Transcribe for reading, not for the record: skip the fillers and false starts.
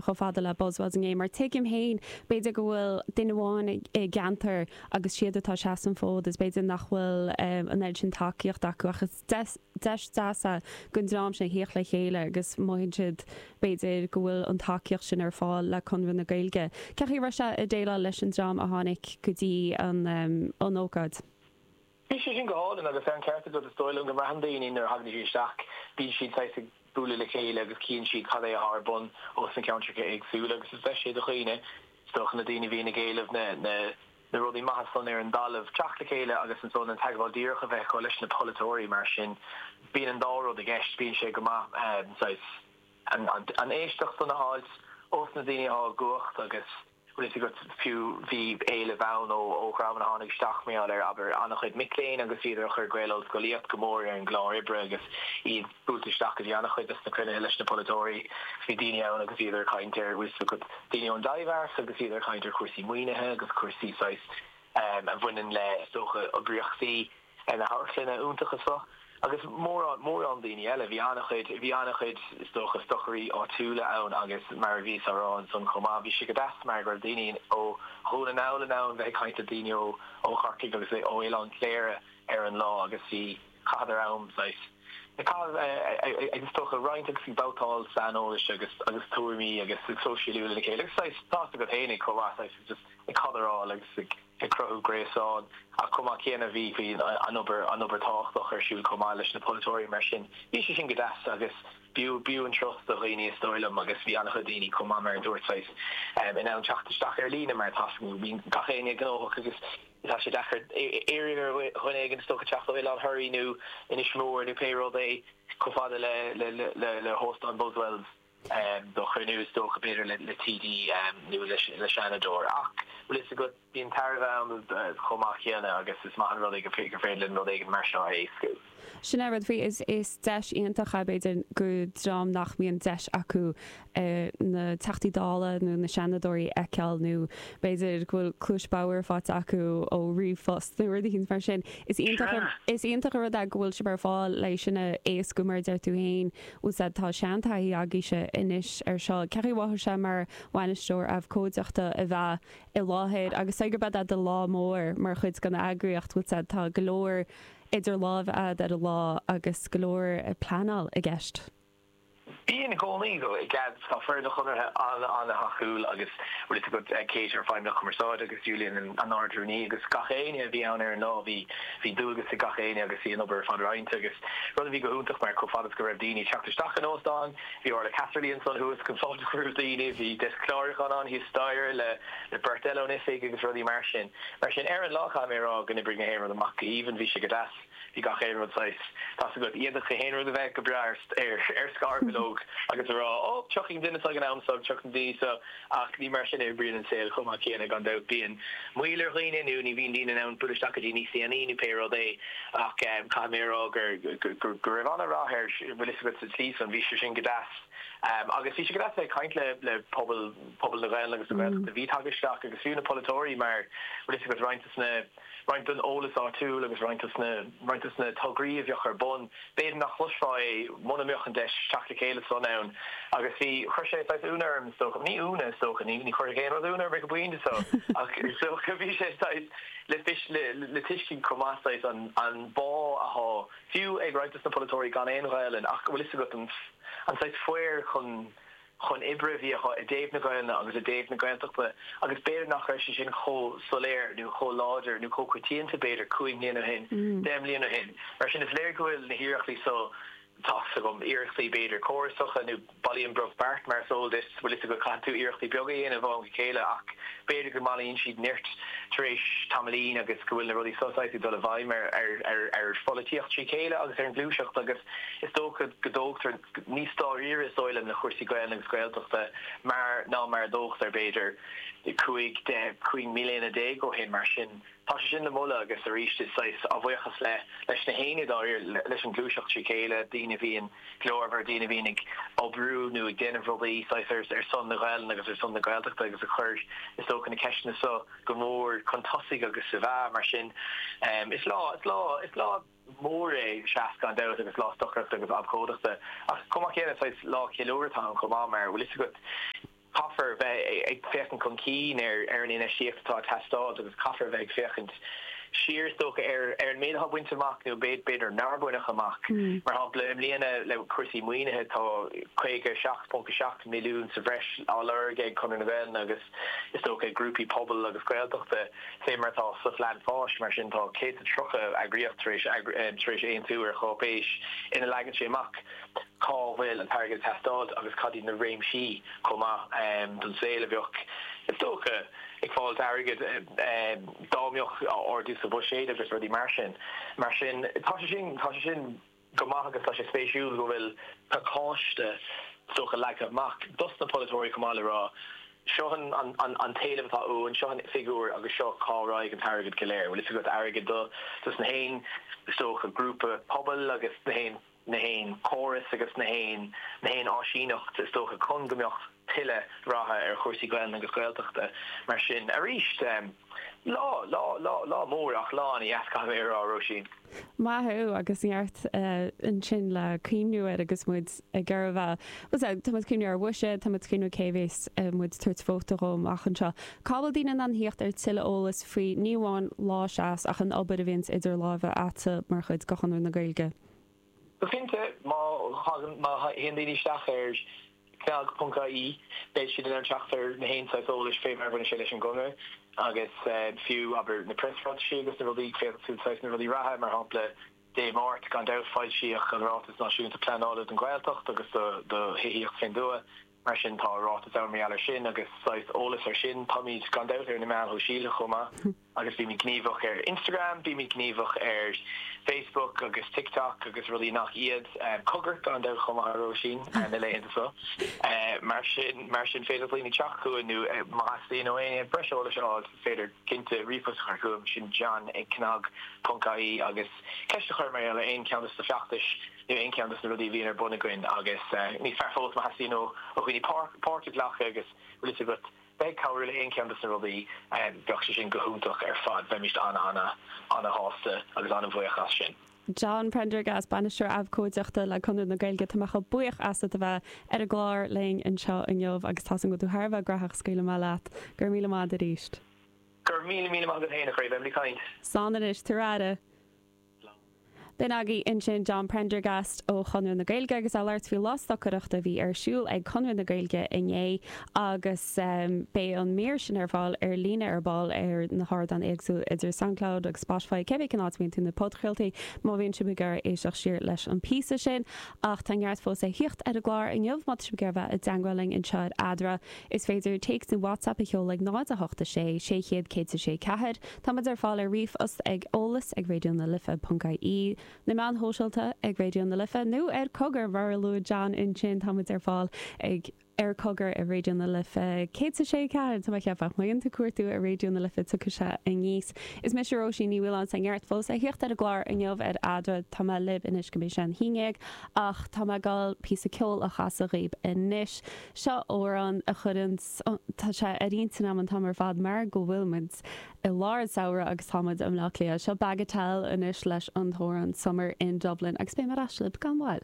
chomh fada le Buswells inné mar tuigim féin b'fhéidir go bhfuil duine amháin i gceantar agus siad atá ag seasamh an fód is b'fhéidir nach bhfuil an oiread sin tacaíocht acu ach is deis deas é don dream sin a thíocht le chéile agus mothaíonn siad b'fhéidir go bhfuil an tacaíocht sin ar fáil le Conradh na Gaeilge. Cén chaoi a raibh sé ag déileáil leis an dream a tháinig go dtí an ócáid? Bhí sé sin go hálainn agus tá an ceart agat, is dóigh liom go mbraitheann daoine nuair a thagann siad isteach, bíonn siad saghas ag bualadh le chéile agus cíonn siad cad é atá ar bun ós na ceantracha éagsúla agus is deis é do dhaoine, is dócha na daoine a bhíonn ag éileamh na na na rudaí maithe san ar an dtalamh, teacht le chéile agus ansan an teagmháil díreach a bheith acu leis na polaiteoirí mar sin bíonn an dá rud i gceist, bíonn sé go maith saghas an an éisteacht san a fháilt ós na daoine atá i gcumhacht agus. Bhfuil fhios agat, fiú bhí éileamh ann ó ó dhreamanna a tháinig isteach mar gheall ar, abair, an-chuid mic léinn agus bhíodar ag cur Gael-Ollscolaíocht go mór ar an gclár oibre agus iad buailte isteach go dtí an-chuid dos na cruinnithe leis na polaiteoirí. Bhí daoine ann agus bhíodar ag caint ar, bhfuil fhios agat, daoine ón Taibhdhearc agus bhíodar ag caint ar chúrsaí maoinithe agus cúrsaí saghas a bhaineann le, is dócha, oibríochtaí. na hamharclainne iontacha seo agus mórán, mórán daoine eile. Bhí an-chuid, bhí an-chuid, is dócha, stocairí áitiúla ann agus mar a bhíos á rá ansan chomh maith, bhí sé go deas mar go raibh daoine ó Dhún na nGall in ann bheith ag caint le daoine ó, ó Chorcaigh agus ó Oileán Cléire ar an lá agus bhí, chaitheadar am saghas, ag caitheamh, ag, is dócha, roinnt agus ag babhtáil saineolais agus, agus tuairimí agus ag sóisialú lena chéile agus saghas, tá's agat fhéinig chomh maith, saghas just ag cadráil agus ag. ag cruthú gréasán ach chomh maith céanna bhí bhí an obair an obair tábhachtach ar siúl chomh maith leis na polaiteoirí mar sin bhí sé sin go deas agus b'fhiú b'fhiú an turas do dhaoine is dóigh liom agus bhí an-chuid daoine chomh maith mar a dúirt saghas in ann teacht isteach ar líne mar tá bíonn gach éinne gnóthach agus tá sé deacair iarraidh ar dhuine éigin is dócha teacht ó Oileán Thoraí nó Inis Mór nó pé rud é chomh fada le le le le hóstán Buswells. do chruinniú, is dócha, b'fhéidir le TD nó le Seanadóir. Ach, bhfuil fhios agat, bíonn tairbhe ann chomh maith céanna agus is maith an rud é gur féidir linn rud éigin mar seo a éascú. Sin é rud faoi, is deis iontach é, b'fhéidir, do dhream nach mbíonn deis acu na Teachtaí Dála nó na Seanadóirí a fheiceáil nó b'fhéidir go bhfuil cluais bhodhar faighte acu ó ríomhphost nó rud éicint mar sin. Is iontach, is iontach an rud é go bhfuil sibh ar fáil le sin a éascú mar a deir tú féin. Bhfuil sé, tá seantaithí agaibhse anois ar seo. Cén chaoi a mhothaigh sé mar bhainisteoir abhcóideachta a bheith i láthair agus sé gurb é do lá mór mar chuid den eagraíocht, bhfuil sé, tá go leor idir lámha a'd ar an lá agus go leor pleanáil i gceist. Bíonn i gcónaí, tá foireann an Chonartha an-an-thacúil agus bhfuil fhios agat Kate ár Feidhmeannach Cumarsáide agus Julian an Ard-Rúnaí agus gach éinne a bhí ann ar an lá bhí bhí dualgas ag gach éinne agus bhí an obair ar fad roinnte agus rud a bhí go hiontach mar chomh fada is go raibh daoine ag teacht isteach an óstán bhí Orla Casserly ansan thuas chun fáilte a chur roimh daoine, bhí deasc clárúcháin ann thíos staighre le le beirt eile ón oifig agus rudaí mar sin. Mar sin ar an lá caithfidh mé a rá go n-oibrigh na haon rud amach go haoibhinn, bhí sé go deas, bhí gach aon rud saghas, tá's agat, d'fhéadfadh aon rud a bheith go breá ar ar ar scarbhileog agus a rá ó tiocfaidh an duine seo ag an am seo, tiocfaidh an duine seo. Ach ní mar sin a oibríonn an saol chomh maith céanna, gan dabht. Bíonn moill ar dhaoine nó ní bhíonn daoine in ann bualadh isteach go dtí níos déanaí nó pé rud é. Ach caithfidh mé a rá gur go raibh an-rath air, bhfuil fhios agat, sa tslí san. Bhí sé sin go deas. Agus bhí sé go deas a bheith ag caint le le pobal pobal na Gaelainne agus na Gaeltachta a bhí tagtha isteach agus fiú na polaiteoirí mar, bhfuil fhios agat, roinnt de na roinnt den eolas áitiúil agus roinnt de na roinnt de na tograí a bheadh ar bun. B'fhéidir nach gcloisfeá é muna mbeadh an deis teacht le chéile san ann agus bhí, chuir sé saghas ionadh orm is dócha, ní ionadh is dócha, ní ní chuirfeadh aon rud ionadh orm ag an bpointe seo ach is dócha bhí sé saghas le fios le le tuiscint chomh maith saghas an an bá athá fiú ag roinnt de na polaiteoirí gan aon Ghaelainn ach bhfuil fhios agat an an saghas faobhar chun chun oibre a bhí acu i dtaobh na Gaelainne agus i dtaobh na Gaeltachta agus b'fhéidir nach raibh sé sin chomh soiléir nó chomh láidir nó chomh coitianta b'fhéidir 5 mbliana ó shin, 10 mbliana ó shin. Mar sin is léir go bhfuil na hiarrachtaí so, tá's agam, iarrachtaí b'fhéidir córasacha nó bailíonn brobh beart mar is eol duit, bhfuil fhios agat, caithfidh tú iarrachtaí beaga a dhéanamh ó am go chéile ach b'fhéidir go mbailíonn siad nirt tar éis tamaillín agus go bhfuil na rudaí so saghas ag dul i bhfeidhm ar ar ar pholaitíocht trí chéile agus ar an ghluaiseacht agus is dócha go dtógtar níos dáiríre is dóigh liom le cúrsaí Gaelainne agus Gaeltachta mar ná mar a dtógtar b'fhéidir 15, 15 mbliana ó shin. Mar sin tá sé sin le moladh agus arís is saghas a bhuíochas le leis na héinne dáiríre, leis an ghluaiseacht trí chéile, daoine a bhíonn glórmhar, daoine a bhíonn ag oibriú nó ag déanamh rudaí saghas ar ar son na Gaelainne agus ar son na Gaeltachta agus a chuir is dócha na ceisteanna seo go mór chun tosaigh agus sa mheá. Mar sin is lá, is lá, is lá. mór é Seas gan dabht agus lá stocaireachta agus abhcóideachta ach chomh maith céanna saghas lá ceiliúradh atá ann chomh maith mar bhfuil fhios agat. Caithfear bheith ag féachaint chun cinn ar an infheistíocht atá ag teastáil agus caithfear bheith ag féachaint siar, is dócha, ar an méid atá bainte amach nó b'fhéidir nár baineadh amach. Mar shampla, i mbliana le cúrsaí maoinithe tá 57.7 milliún sa bhreis á lorg ag Conradh na Gaelainne agus is dócha ag grúpaí pobail agus Gaeltachta fé mar atá sa Phlean Fáis. Mar sin tá 130 eagraíocht tar éis tar éis aontú ar cháipéis ina leagann sé amach cá bhfuil an t-airgead ag teastáil agus cad iad na réimsí chomh maith don saol a bheadh, is dócha, ag fáilt airgid dá mbeadh ardú sa bhuiséad agus rudaí mar sin. Mar sin, tá sé sin, tá sé sin go maith agus tá sé spéisiúil go bhfuil pacáiste, is dócha, leagtha amach dos na polaiteoirí chomh maith le rá, seo an t-éileamh atá uainn, seo an figiúr agus seo cá raghaidh an t-airgead go léir. Bhfuil fhios agat, airgead do dos na haon, is dócha, grúpa pobail agus na haon. na haon chóras agus na haon na haon áisíneacht is dócha chun go mbeadh tuilleadh ratha ar chúrsaí Gaelainne agus Gaeltachta. Mar sin, arís, lá, lá, lá, lá mór ach lá ana-dheas, caithfidh mé a rá, Róisín. Maith thú, agus neart ansin le cuimhniú air agus muid ag iarraidh a bheith, bhuel, tá muid ag cuimhniú ar bhuiséad, tá muid ag cuimhniú cé bhéas muid ag tabhairt vóta dhó amach anseo. Cá bhfuil daoine in ann theacht ar tuilleadh eolais faoi, ní amháin Lá Seas ach an obair a bhíonns idir lámha a'dsa mar chuid de Chonradh na Gaeilge? Go cinnte, má thagann, má théann daoine isteach ar cnag ponc ie, beidh siad in ann teacht ar na haon saghas eolais fé mar a bhaineann sé leis an gConradh agus fiú, abair, na preasráitisí agus na rudaí, féadfaidh tú saghas na rudaí reatha, mar shampla, Dé Máirt, gan dabht, foilsíodh an Ráiteas Náisiúnta Pleanála don Ghaeltacht agus do Thithíocht fén dTuath. Mar sin, tá ráiteas ann mar gheall air sin agus saghas eolas air sin. Táimid gan dabht ar na meáin shóisialta chomh maith agus bímid gníomhach ar Instagram, bímid gníomhach ar Facebook agus TikTok agus rudaí nach iad. Cogar, gan dabht chomh maith a Róisín, na laethanta seo. Mar sin, mar sin féidir le daoine teacht chugainn nó má theastaíonn ó éinne breis eolais a fháil, is féidir cinnte ríomhphost a chur chugam, sin john ag cnag ponc ie agus ceist a chur mar gheall ar aon cheann de na feachtais nó aon cheann de na rudaí a bhíonn ar bun againn agus níos fearr fós má theastaíonn ó dhaoine páirt a ghlacadh agus bhfuil fhios agat bheith ag cabhrú le aon cheann de na rudaí, bheadh sé sin go hiontach ar fad, bheimist ana-ana-ana-shásta agus ana-bhuíoch as sin. John Prendergast, Bainisteoir Abhcóideachta le Conradh na Gaeilge, tá mé chomh buíoch asat a bheith ar an gclár linn anseo inniu agus tá's agam go bhfuil tú thar a bheith graitheach, scaoilfidh mé leat. Go raibh míle maith agat arís. Go raibh míle míle maith agat féin, a chroí. Beimid ag caint. Slán anois, tabhair aire. B'in agaibh ansin John Prendergast ó Chonradh na Gaeilge agus é ag labhairt faoi lá stocaireachta a bhí ar siúl ag Conradh na Gaeilge inné agus beidh an mír sin ar fáil ar líne ar ball ar na hardáin éagsúla idir Soundcloud agus Spotify, cébí cén áit a mbíonn tú na podchraoltaí má bhíonn sibh ag iarraidh éisteacht siar leis an píosa sin. Ach tá neart fós le thíocht ar an gclár inniu má tá sibh ag iarraidh bheith i dteangmháil linn anseo ar Eadra. Is féidir téacs nó WhatsApp a sheoladh ag 0 8 6 600 106 4. Tá muid ar fáil ar ríomhphost ag eolas ag raidió na life ponc ie, na meáin shóisialta ag Raidió na Life nó ar Cogar mar a luaigh John ansin tá muid ar fáil ag ar Cogar ar Raidió na Life 106 4 tá mé ag ceapadh. Má dhéanann tú cuartú ar Raidió na Life tiocfaidh sé aníos. Is mise Róisín Ní Mhaoláin tá neart fós le thíocht ar an gclár inniu ar Eadra. Tá mé libh anois go mbeidh sé an haon dhéag ach tá mé ag dul píosa ceoil a chasadh dhaoib anois. Seo amhrán a chuireann Tá sé ar intinn agam an t-am ar fad mar go bhfuil muid i lár an samhradh agus tá muid i mBleá Cliath. Seo Bagatelle anois leis an t-amhrán Summer in Dublin agus beidh mé ar ais libh gan mhoill.